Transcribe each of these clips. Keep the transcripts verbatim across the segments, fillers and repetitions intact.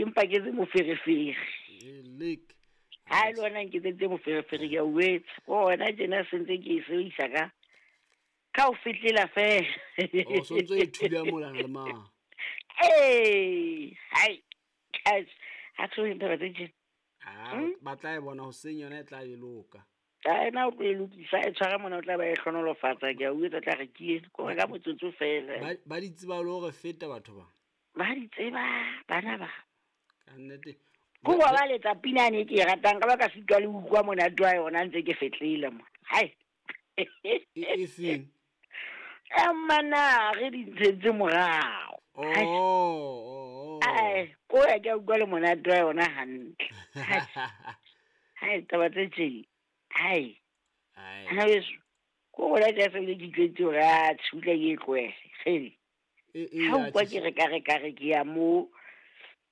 Empa ke tse moferefere. Lek. Ha le wena nketsetse moferefere ke a o etsa. Ko wena tjena se ntse ke e sebedisa ka ka ho fetlela fela. O so ntso e thula molana le mang. Ee, hai. Guys, ha tlo ditaba tse tjena. Ah, ba tla e bona hoseng yona e tla e loka. Ka ena o tlo e lokisa, e tshwara mona o tla ba e hlonolofatsa, ke a o etsa tla re ke eno. Ko re ka motsotso fela. Ba ba di tseba le hore feta batho ba. Ba di tseba bana ba. Ka nnete. Ko ba ba letsa pina ane ke e ratang ka ba ka sitwa le utlwa monate wa yona ntse ke fetlele mo. Hai. E e feng? Emana re di ntshetse morao. Oh, oh, oh. Ai, ko ya ke utlwa le monate wa yona hantle. Hai. Hai, taba tse tje. Hai. Ai. Ana beso. Ko bona ke se le ke tletse hore a tshutla ke e tlohele. Kgele. E e Ha utlwa ke re ka re ka re ke ya mo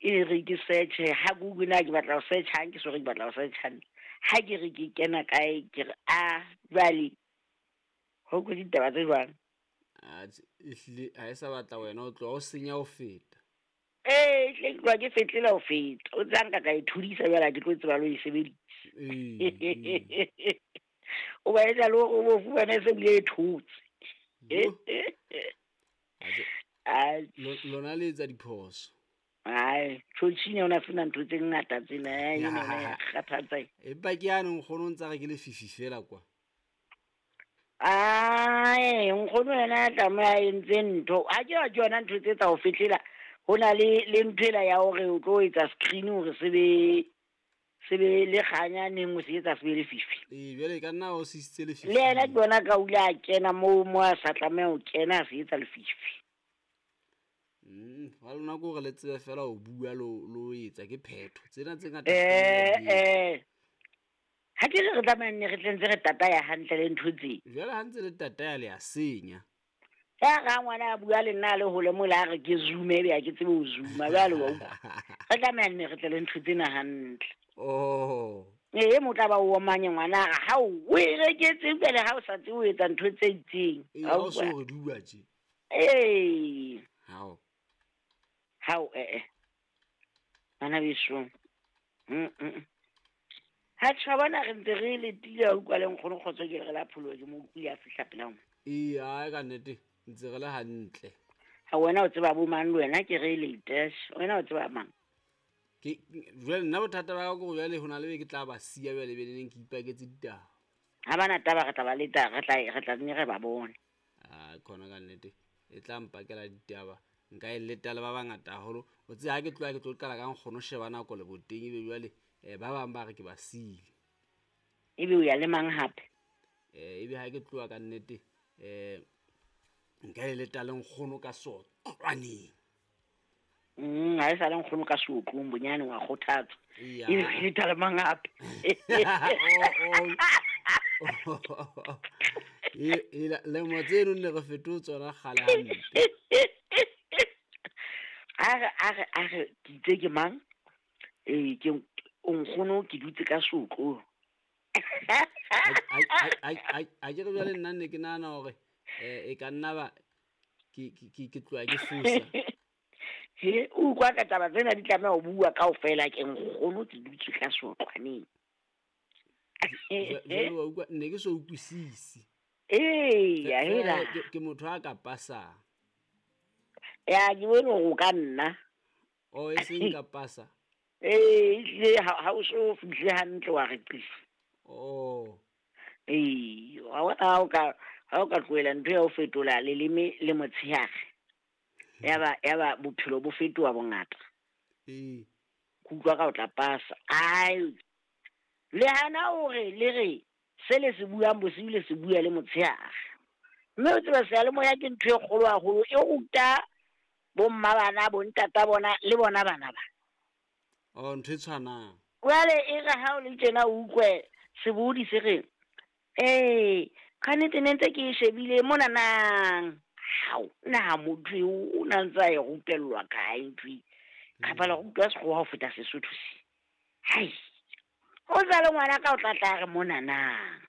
e re ke search ha Google na ke batla ho search ha ke so re ke batla ho search hantle. Ha ke re ke kena kae ke re a jwale ho ko ditaba tse jwang. Ah, ehlile ha e sa batla wena o tloha o senya ho feta. Ee, hle ke tloha ke fetlela ho feta. O tseba nka ka e thudisa jwale ha ke tlo tseba le ho e sebedisa. Ee. ee. O ba etsa le hore o bo fumane se bile e thotse. Yo. Atjhe, Ai, lo- lona le etsa diphoso. Ai, tjhotjhini yona sena ntho tse ngata tsena, ai, ena yona ya kgathatsa. Empa ke yane nkgono o ntsa re ke lefifi fela kwa. Ai, nkgono yena a tlameha a entse ntho. Ha ke ya ke yona ntho tse tsa ho fetlela. Ho na le le ntho ela ya hore o tlo etsa screen hore se be se be le kganya neng o se etsa se be lefifi. Ee, jwale e ka nna o sisitse lefifi. Le yena ke bona ka o ile a kena moo mo a sa tlameha ho kena a se etsa lefifi. Mm, wa lona ke hore le tsebe fela ho bua lo lo etsa ke phetho. Tsena tse ngata Eh se di etsa. eh. Ha ke re re tlameha nne re tle ntse re tataya hantle le ntho tse. Jwale ha ntse le tataya le a senya. Ya ga ngwana a bua le nna a le hole mola a re ke zoome ebe ha ke tsebe ho zooma jwale wa utlwa. Re tlameha nne re tle le ntho tsena hantle. Oh. Ee, mo tla ba o omanye ngwana a re hao o e reketse jwale ha o sa tsebe ho etsa ntho tse itseng. Ee, Wa ha o so utlwa? re dua tje. Ee. Hao. Hao eh eh. Bana beso. Mm mm. Ha tjha bona re ntse re letile wa utlwa le nkgono kgotso ke re la pholoha ke mo utlwile a fihla pela mo. Ee, ai ka nnete ntse re le hantle. Ha wena o tseba bo mang le wena ke re late. Wena o tseba mang? Ke jwale nna bothata ba ka ke hore jwale ho na le be ke tla ba siya jwale be neng ke ipaketse ditaba. Ha bana taba re tla ba leta re tla re tla nne re ba bone. Ah, khona ka nnete e tla mpakela ditaba. Nka e leta le ba bangata haholo. O tsebe ha ke tloha ke tlo qala ka nkgono sheba nako le boteng ebe jwale eh ba bang ba re ke ba siile. Ebe o ya le mang hape? Eh ebe ha ke tloha ka nnete eh nka e leta le nkgono ka sotlwaneng. Mm, ha e sa le nkgono ka seotlong bonyane wa kgothatsa. Eya. Ebe o leta le mang hape? Oh, oh. E e lemo tseno ne re fetotse tsona kgale hampe. A re a re a re ke itse ke mang? Eh ke o nkgono ke dutse ka seotlong. A ke re jwale nna ne ke nahana hore eh e ka nna ba ke ke ke tloha ke fosa. He o utlwa ka taba tsena di tlameha ho bua kaofela ke nkgono ke dutse ka seotlwaneng. Jwale wa utlwa ne ke so utlwisisi. Ee, ya hela. Ke ke motho a ka pasang. Ya ke bone hore o ka nna. Oh, e seng ka pasa. Ee, ehlile ha ha o so fihle hantle wa re qisa. Oh. Ee, wa bona ha o ka ha o ka tlohela ntho ya ho fetola leleme le motshehare. Ya ba ya ba bophelo bo fetoha bongata. Ee. Ke utlwa ka o tla pasa. Ai. Le hana hore le re se le se buang bosiu le se bua le motshehare. Mme o tseba seyalemoya ke ntho e kgolo haholo e ruta bo mma bana, bo ntata bona le bona bana ba. Oh, ntho e tshwanang. Jwale e re ha o le tjena o utlwe sebohodi se re, ee, kannete ne ntse ke e shebile mona nang. Hao, na motho eo o na ntse a e rupellwa kae ntho e? Kapa la rutwa sekgowa ho feta Sesotho se. Hai. O tla le ngwana ka o tla tla re mona nang.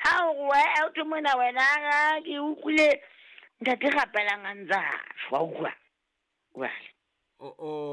Ha o re wa o thwe mona wena ha ke utlwile ntate rapelang a ntsa shwa utlwa. Jwale. Oh, oh.